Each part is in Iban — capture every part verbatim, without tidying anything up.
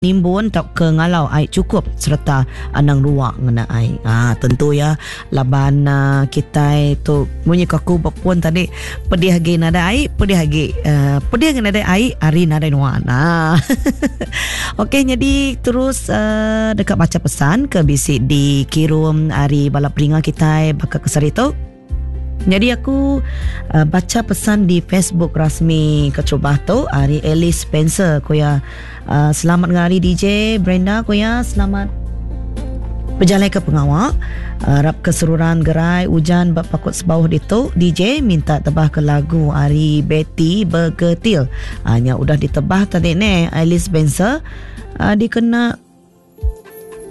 Nimbun tauka ngalau ai chukup sereta anang rua ngena ai. Ha, tentu ya laban uh, kitai tu munyi ko aku bepun tadi, pedih agi nadai ai, pedih agi uh, pedih agi nadai ai ari nadai nuan. Ha. Okey, jadi terus uh, deka baca pesan ke bisi dikirum ari bala peninga kitai baka ke sehari tu. Nyadi aku uh, baca pesan di Facebook rasmi keterubah tu ari Alice Spencer ko ya, uh, selamat ngari D J Brenda ko ya, selamat berjalai ke pengawa, harap keseruran gerai ujan bak pakut sebauh ditu. D J minta tebah ke lagu ari Betty Bergetil. Uh, nya udah ditebah tadi ne Alice Spencer, uh, dikena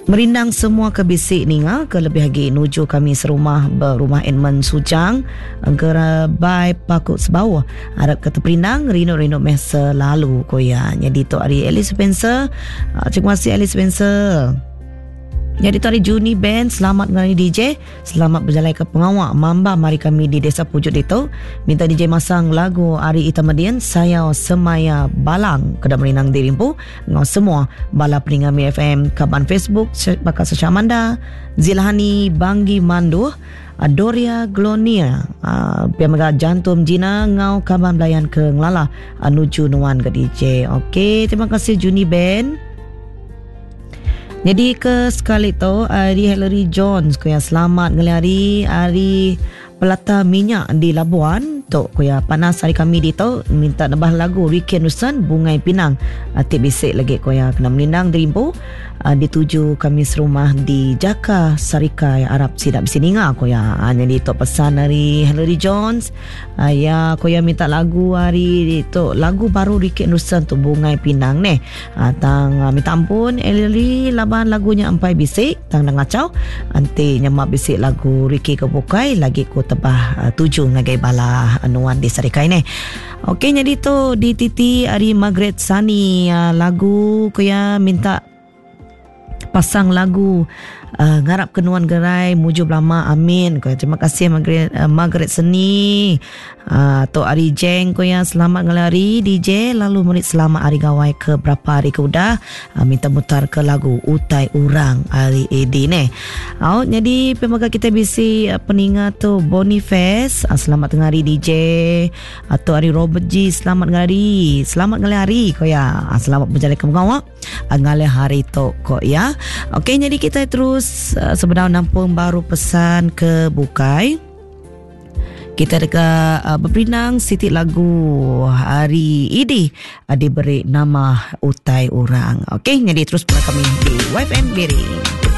merindang semua ke bisi ninga ke lebih lagi nuju kami serumah berumah Edmund Sujang Gerabai Pakut Sebauh. Harap ke terperindang rindu-rindu meh selalu ko ya. Jadi tu ari Alice Spencer. Terima kasih Alice Spencer. Jadi tu hari Juni Band, selamat ngari D J, selamat berjalan ke pengawak mamba mari kami di Desa Pujut itu. Minta D J masang lagu Ari Itamadian Sayau Semaya Balang kedak merinang dirimpu ngau semua bala peninga Mi F M kaban Facebook bakal Sesha Amanda, Zilhani Banggi Manduh, Doria Glonia, uh, pia mega Jantum Jina ngau kaban belayan ke ngelala nuju nuan ke D J. Okey, terima kasih Juni Band. Jadi ke sekali tu hari Hillary Jones ko yang selamat ngelih hari hari Pelata Minyak di Labuan tu ko ya panas hari kami di tu minta nebah lagu Ricky Anderson Bungai Pinang ti bisik lagi ko ya kena menindang dirimpu dituju kami serumah di Jaka Sarikai Arab sidak bisi ninga ko ya. Jadi tu pesan dari Hillary Jones ya ko ya minta lagu hari tu lagu baru Ricky Anderson tu Bungai Pinang neh. Tang minta ampun Hillary laban lagunya ampai bisik tang dah ngacau anti nyemak bisik lagu Ricky ke bukai lagi ko tebah uh, tuju ngagai bala anuan di Sarikai ni. Okey, jadi tu di T T ari Margaret Sani uh, lagu ko ya minta pasang lagu uh, ngarap kenuan gerai mujur belama amin. Ko terima kasih Margaret, uh, Margaret Seni. Uh, tu ari Jeng ko ya selamat ngelari D J lalu murid selamat hari gawai ke berapa hari ke udah uh, minta mutar ke lagu Utai Urang ari A D ni. Au jadi pemaga kita bisi uh, peninga tu Boniface uh, selamat tengah hari D J atau ari Robert G selamat ngelari selamat ngelari ko ya uh, selamat berjalan ke pengawak uh, ngalih hari tu ko ya. Okey, jadi kita terus uh, sebenarnya nampung baru pesan ke bukai. Kita dekat uh, berpinang siti lagu hari ini uh, diberi nama Utai Urang. Okey, jadi terus bersama kami di Y F M Miri.